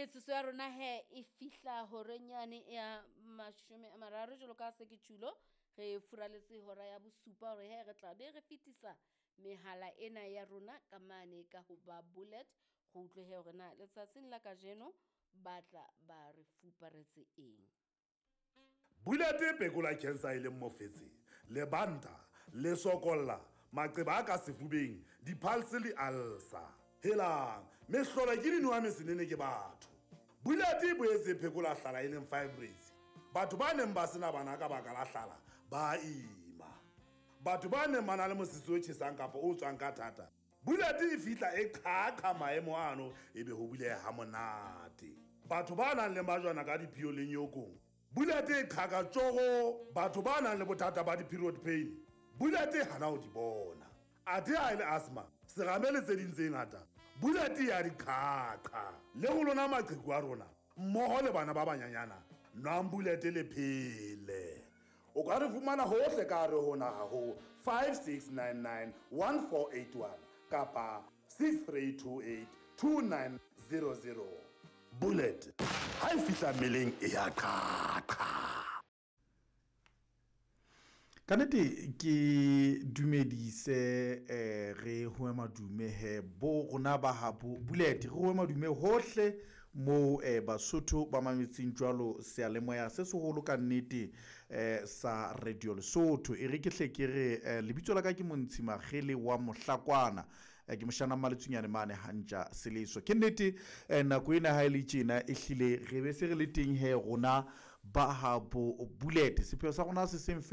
Metsotso ya rona he e fihla horeng yane ya 30 jwalo ka se ke tjhulo, re furaletse hora ya bosupa hore he re tla be re fetisa mehala ena ya rona ka mane ka ho ba bullet, re utlwe he hore na letsatsing la kajeno ba tla ba re fuparetse eng. Bullet e phekola cancer e leng mofetshe, lebanta, lesokolla, maqeba a ka sefubeng, di-pulse le ulcer. Helang, mehlolo ke dinowa mesenene ke batho. Bullet e boetse e phekola hlala e leng fibroids. Batho ba neng ba sena bana ka baka la hlala ba ima. Batho ba neng ba na le mosese o tjhesang kapa o tswang ka thata, Bullet e fihla e qhaqha maemo ano ebe ho buleha ha monate. Batho ba nang le majwana ka diphio le nyokong, Bullet e qhaka tjoro. Batho ba nang le bothata ba di-period pain, Bullet e hana ho di bona. Athe ha e le asthma, serame le tse ding tse ngata, Bullet ya di qhaqha. Le ho lona maqheku a rona, mmoho le bana ba banyanyana, nwang Bullet le phele. O ka re fumana hohle ka hare ho naha ho 5699 1481 kapa 6328 2900. Bullet ha e fihla mmeleng e ya qhaqha. Ka nnete ke dumedise re hoe madume he bo rona ba habo Bullet, re hoe madume hohle moo Basotho ba mametseng jwalo seyalemoya se seholo ka nnete sa Radio Lesotho. E re ke hle ke re lebitso la ka ke Montshi Magele wa Mohlakwana, ke moshana Mmaletsunyane mane hantja Seleso. Ke nnete nako ena ha e le tjena e hlile re be se re le teng he rona ba habo Bullet. Sepheo sa rona se seng fela.